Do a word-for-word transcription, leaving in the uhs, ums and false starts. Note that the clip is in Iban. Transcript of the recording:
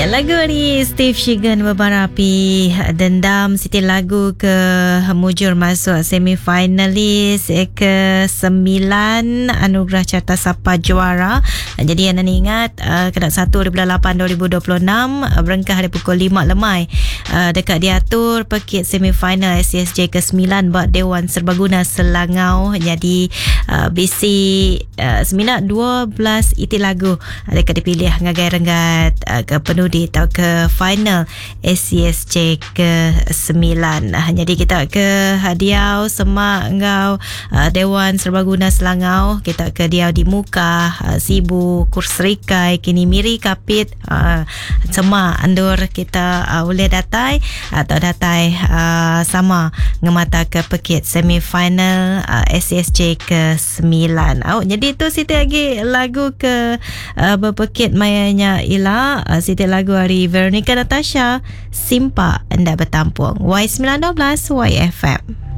Ya, lagu ari Steve Shigan Bebar Api Dendam siti lagu ke mujur masuk semifinalis eh, ke sembilan Anugerah Carta Sapa Juara. Jadi anda ingat uh, kena satu bulan lapan dua ribu dua puluh enam uh, berengkah hari pukul lima lemai uh, dekat diatur pekit semifinal S C S J ke sembilan buat Dewan Serbaguna Selangau. Jadi uh, B C uh, sembilan dua belas iti lagu dekat dipilih ngagai renggat uh, ke penudi atau ke final S C S J ke sembilan. Jadi kita ke hadiah semak ngau uh, Dewan Serbaguna Selangau, kita ke dia di Muka, uh, Sibu, Kurserikai, kini Miri Kapit, uh, semak andur kita uh, boleh datai atau datai uh, sama ngemata ke pekit semifinal uh, S C S J ke sembilan. Oh, jadi tu siti lagi lagu ke uh, berpekit mayanya ila uh, siti lagu hari Veronica Natasha Simpa Enda Bertampung. Y sembilan dua belas Y F M.